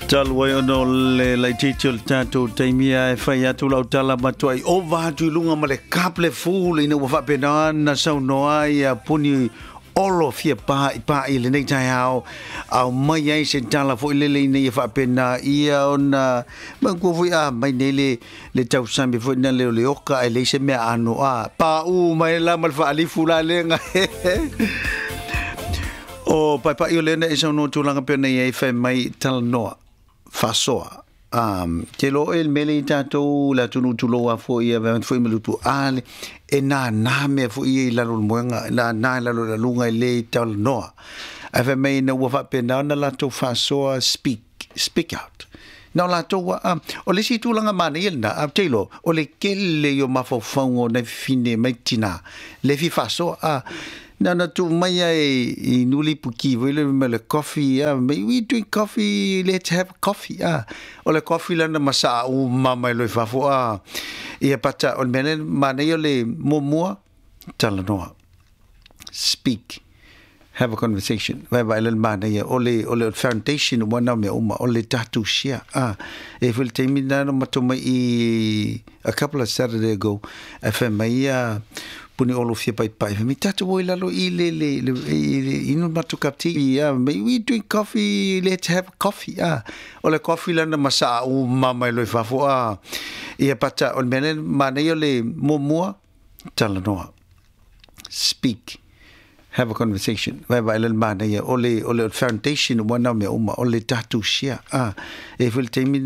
Talu ai ona o le laitiiti o le tatou taimi ae fai atu lau tala matuai ova atu i luga ma le kaple full ina ua faapena ona saunoa ai Puni Olo fia pa'ipa'i i lenei taeao, aumai ai se tala foi lele ina ia faapena ia ona manatua foi a mai nei le tausami foi na le o le oka ae leai se mea ano a paʻū mai la ma le faalifu la lega. O paepa'i o lea na e saunoa tulaga pei ona i ai fai mai talanoa faasoa. Te lo e le mele i tātou le atunuu tulou a foi ia vea foi ma lutu a le e nānā mea foi ia i lalo o le moega, e nānā i lalo o le aluga e le talanoa. Ae fai mai ina ua faapena ona latou faasoa speak, speak out. Na o latou a, o le isi tulaga manaia lena, a te iloa, o le kele i o mafaufauga o nai fafine mai tina, le fia faasoa, a, na ona tuu mai lava i Nulipuki foi le ma le coffee, a, we drink coffee, let's have coffee, a, o le coffee lana masaa uma mai loa i fafo, a, ia pata, o le mea lea manaia o le muamua, talanoa, speak, have a conversation. Vaevae le manaia o le foundation ua nao mea uma o le tatou share. Ah, e foi le taimi na matou mai i a couple of Saturday ago, e fai mai ia Puni Olo fia paepae. Fai mai tatou o i lalo i le inu matou cup tea. Ah, we drink coffee, let's have coffee. Ah, o le coffee lana masaa uma mai loa i fafo. Ah, ia pata, o le mea lea manaia o le muamua, talanoa. Speak, have a conversation. Vaevae le manaia o le foundation ua nao mea uma o le tatou share. Ah, e foi le taimi